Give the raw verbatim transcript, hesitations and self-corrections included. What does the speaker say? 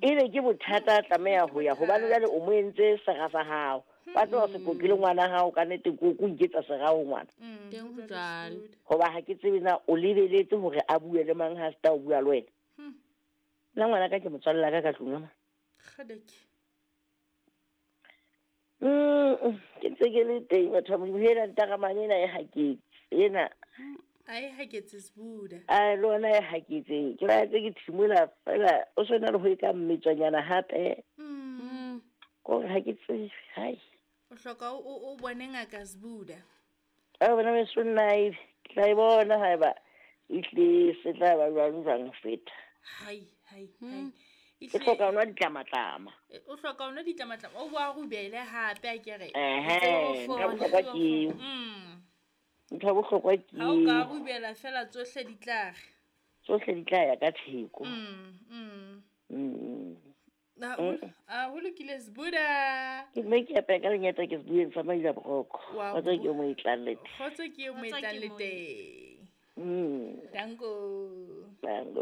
Ebe ke bothata a tlameha ho ya hobane jwale o mo entse sera sa hao. Ba tloha se kokile ngwana hao ka nnete ko ko iketsa sera ho ngwana. Mm, Teng ho jwalo. Hoba ha ke tsebe na o lebeletse hore a bue le mang ha se o bua le wena. Hmm. Nna ngwana ka ke motswalle ka ka tlung ama. Kgadeke. Mm, ke ntse ke le teng batho ba Modimo hela ntaramane ena e haketse ena A e haketse Sbuda. a le ona e haketse ke ba ntse ke thimola fela o sona le ho e ka mmetswanyana hape Mm. Mm. kore ha ke tsebe hai O hloka o o- o bone ngaka Sbuda. a bona weso nna ebe ke tla e bona haeba ehlile se tla ba jwang jwang ho feta Hai, hai, hai. ke Ehlile- hloka ho nwa ditlamatlama E, o hloka ho nwa ditlamatlama o boa rubele hape a kere ehe tsebe ntho ho ya fola. bohlokwa ke eo Mm. ntho ya bohlokwa ke Ha o ka eo rubela fela tsohle di tla re. tsohle di tla ya ka theko Mm, mm. Mm. Na, ho- a ho lokile Sbuda. ke mme ke apeya ka lenyata ke sebueng sa maila boroko Wa kgotsa ke mo e tlang le teng Kgotso ke eo mo Kgotso etlang ke le mo e- teng. Mm, Danko. tango.